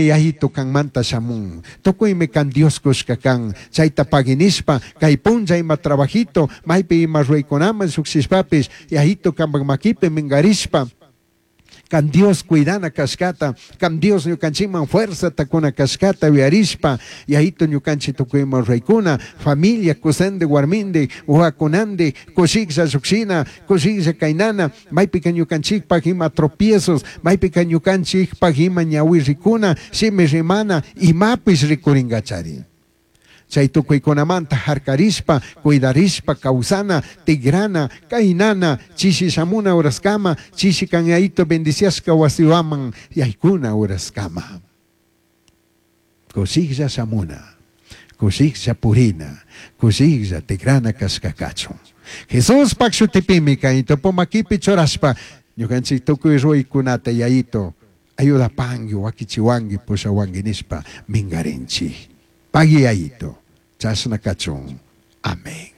Yayitu canmanta shamun. Tucuimi can Dios cushca can. Chaita pagui nishpa, cai punlla ima trabajito, maipi ima ruicunaman llujshishpapish, Yayitu cambaj maquipi mingarishpa, can Dios cuidana cashcata, can Dios ñucanchikman fuerzata cuna cashcata yuyarishpa, Yayitu ñucanchik tucui ima ruraicuna, familia cusandi huarmindi, huahuacunandi, cushijlla llujshina, cushijlla cainana, maipica ñucanchikpaj ima tropiezos, maipica ñucanchikpaj ima ñahui ricuna, shimi rimana, imapish ricuringachari. Chai tucuicunamanta jarcarishpa, cuidarishpa causana, tigrana, cainana, chishi shamuna horascama, chishi can Yayitu bendiciashca huasihuaman yaicuna horascama. Cushijlla shamuna, cushijlla purina, cushijlla tigrana cashca cachun. Jesuspaj shutipimi cai tupu maquipi churashpa, ñucanchij tucui ruicunata Yayitu ayudapangui, huaquichihuangui, pushahuangui nishpa mingarinchij. Pagui Yayitu, chashna cachun. Amén.